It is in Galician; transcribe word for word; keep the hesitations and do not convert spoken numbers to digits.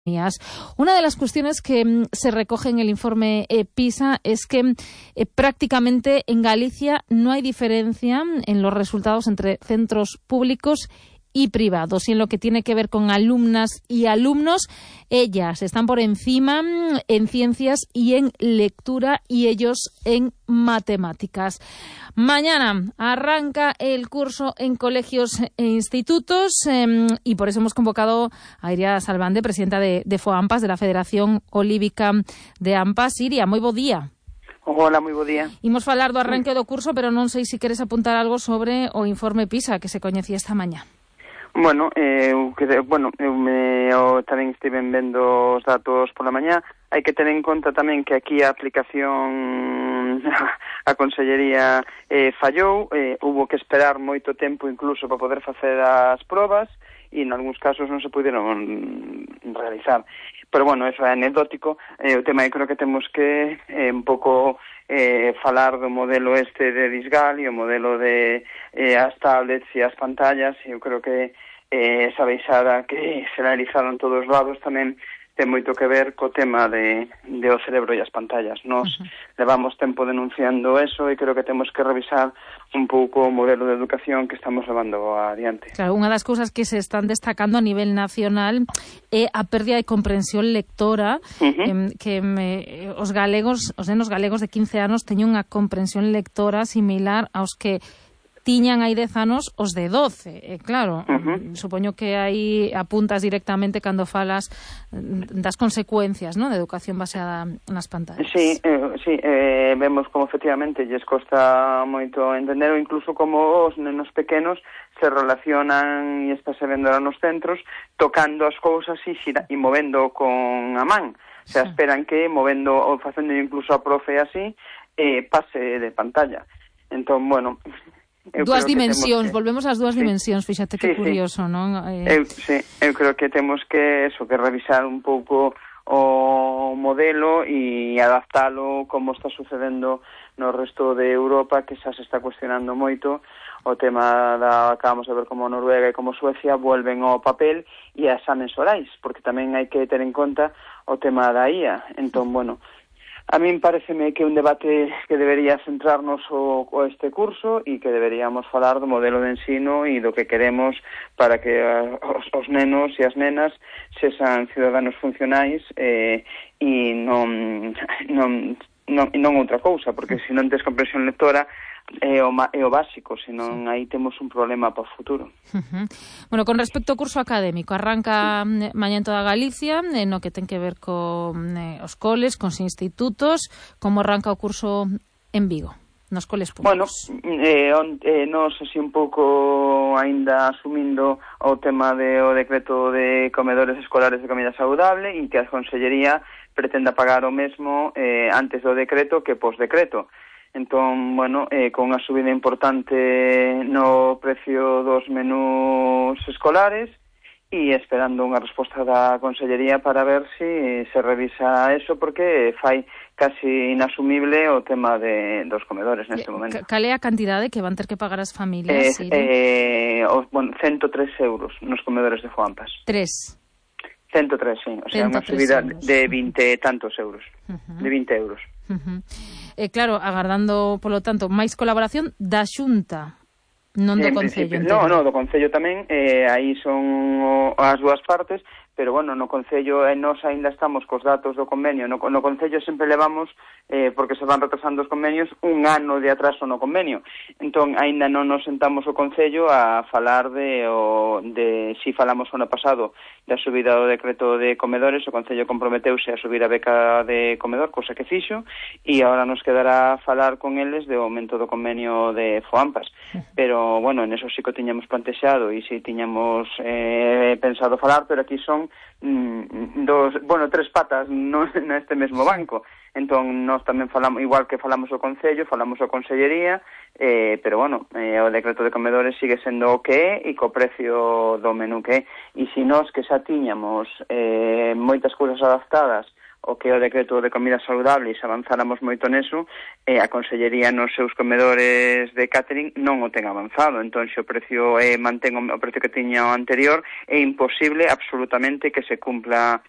Una de las cuestiones que mm, se recoge en el informe eh, PISA es que eh, prácticamente en Galicia no hay diferencia en los resultados entre centros públicos y privados. Y en lo que tiene que ver con alumnas y alumnos, ellas están por encima mm, en ciencias y en lectura y ellos en matemáticas. Mañana arranca el curso en colegios e institutos eh, y por eso hemos convocado a Iria Salvande, presidenta de, de FOAMPAS, de la Federación Olívica de AMPAS. Iria, moi bo día. Hola, moi bo día. Imos falar do arranque do curso, pero non sei se queres apuntar algo sobre o informe PISA que se coñecía esta mañá. Bueno, eh, bueno, eu, me, eu tamén estiven vendo os datos pola mañá. Hai que ter en conta tamén que aquí a aplicación a Consellería eh, fallou, eh, hubo que esperar moito tempo incluso para poder facer as probas e en algúns casos non se puderon realizar. Pero bueno, eso é anecdótico. Eh, o tema eu creo que temos que eh, un pouco eh, falar do modelo este de Disgal e o modelo de eh, as tablets e as pantallas. Eu creo que eh, esa baixada que se realizaron todos os lados tamén ten moito que ver co tema de, de o cerebro e as pantallas. Nos uh-huh. levamos tempo denunciando eso e creo que temos que revisar un pouco o modelo de educación que estamos levando adiante. Claro, unha das cousas que se están destacando a nivel nacional é a pérdida de comprensión lectora, uh-huh. eh, que eh, os galegos, os nenos galegos de quince anos teñen unha comprensión lectora similar aos que tiñan hai dez anos os de doce, e claro, uh-huh. supoño que aí apuntas directamente cando falas das consecuencias, ¿no?, de educación baseada nas pantallas. Sí, eh, sí eh, vemos como efectivamente lles costa moito entender, ou incluso como os nenos pequenos se relacionan e está se vendo nos centros tocando as cousas e, xira, e movendo con a man. Se sí. esperan que movendo ou facendo incluso a profe así eh, pase de pantalla. Entón, bueno... Eu dúas dimensións, que... volvemos ás dúas sí. dimensións, fíxate que sí, curioso, sí. non? Eh... Eu, sí, eu creo que temos que eso, que revisar un pouco o modelo e adaptalo como está sucedendo no resto de Europa, que xa se está cuestionando moito o tema da, acabamos de ver como Noruega e como Suecia volven ao papel e a exames orais, porque tamén hai que ter en conta o tema da I A. Entón, bueno, a min pareceme que é un debate que debería centrarnos o, o este curso e que deberíamos falar do modelo de ensino e do que queremos para que a, os, os nenos e as nenas sexan ciudadanos funcionais eh, e non, non, non, non outra cousa, porque se non tes comprensión lectora é o, é o básico, senón sí. aí temos un problema para o futuro. Uh-huh. Bueno, con respecto ao curso académico, arranca sí. mañá en toda Galicia, eh, no que ten que ver con eh, os coles, cos institutos. Como arranca o curso en Vigo, nos coles públicos? Bueno, eh, on, eh, nos así un pouco aínda asumindo o tema de o decreto de comedores escolares de comida saudable e que a Consellería pretenda pagar o mesmo eh, antes do decreto que pos-decreto. Entón, bueno, eh, con unha subida importante no precio dos menús escolares e esperando unha resposta da Consellería para ver se si se revisa eso, porque fai casi inasumible o tema de, dos comedores neste momento. Cal é a cantidade que van ter que pagar as familias? Eh, eh, os, bueno, ciento tres euros nos comedores de FOAMPAS. Tres? ciento tres, sí. O sea, unha subida euros. de vinte e tantos euros. Uh-huh. De vinte euros. Uh-huh. Eh, claro, agardando, polo tanto, máis colaboración da Xunta, non do Concello. No, no, do Concello tamén, eh, aí son o, as dúas partes, pero bueno, no Concello eh, nós aínda estamos cos datos do convenio. No, no Concello sempre levamos, eh, porque se van retrasando os convenios, un ano de atraso no convenio. Entón, aínda non nos sentamos o Concello a falar de, o, de si falamos o ano pasado da subida do decreto de comedores. O Concello comprometeuse a subir a beca de comedor, cosa que fixo, e agora nos quedará falar con eles de aumento do convenio de FOAMPAS. Pero, bueno, en eso sí que tiñamos plantexado e sí tiñamos eh, pensado falar, pero aquí son mm, dos, bueno, tres patas no, neste mesmo banco. Entón, nós tamén falamos, igual que falamos o Concello, falamos o Consellería, eh, pero, bueno, eh, o decreto de comedores sigue sendo o que é e co precio do menú que é. E se nós que xa tiñamos eh, moitas cousas adaptadas o que é o decreto de comida saudable e se avanzáramos moito neso, eh, a Consellería nos seus comedores de catering non o ten avanzado. Entón, se o precio eh, mantén o precio que tiña o anterior, é imposible absolutamente que se cumpla